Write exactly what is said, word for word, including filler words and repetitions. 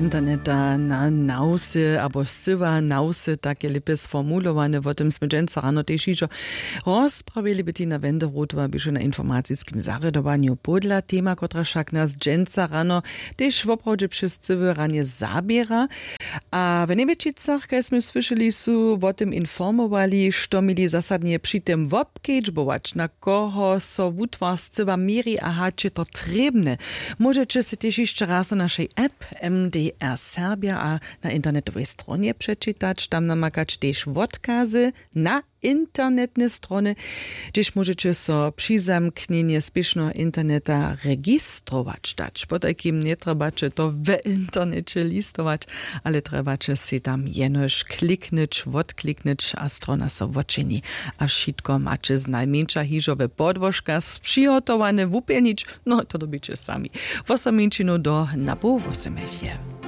Interneta na nawsy abo scyła nawsy, tak je lěpje sformulowane. Wo tym smy dźensa rano tež hižo rozprawili. Bettina Wenderotowa běše na informaciskim zarjadowanju podla tema, kotraž wšak nas dźensa rano tež woprawdźe přez cyły ranje zaběra. A w Njebjećicach, kaž smy słyšeli, su wo tym informowali, što měli zasadnje při tym wobkedźbować, na koho so wutwar scyła měri a hač je to trěbne. Móžeće sej tež hišće raz na našej app M D R Serbia a na internetowej stronje přečitać. Tam namakać tež wotkazy na internetne strony, hdźež móžeće so přizamknjenje spěšneho interneta registrować dać. Potajkim njetrjebaće to w interneće listować, ale trjebaće sej tam jenož kliknyć, wotkliknyć a strona so wočini. A wšitko maće znajmjeńša hižo we podłožkach přihotowane wupjelnić. No, to dyrbiće sami. Wosominčinu do napoł wosomich je.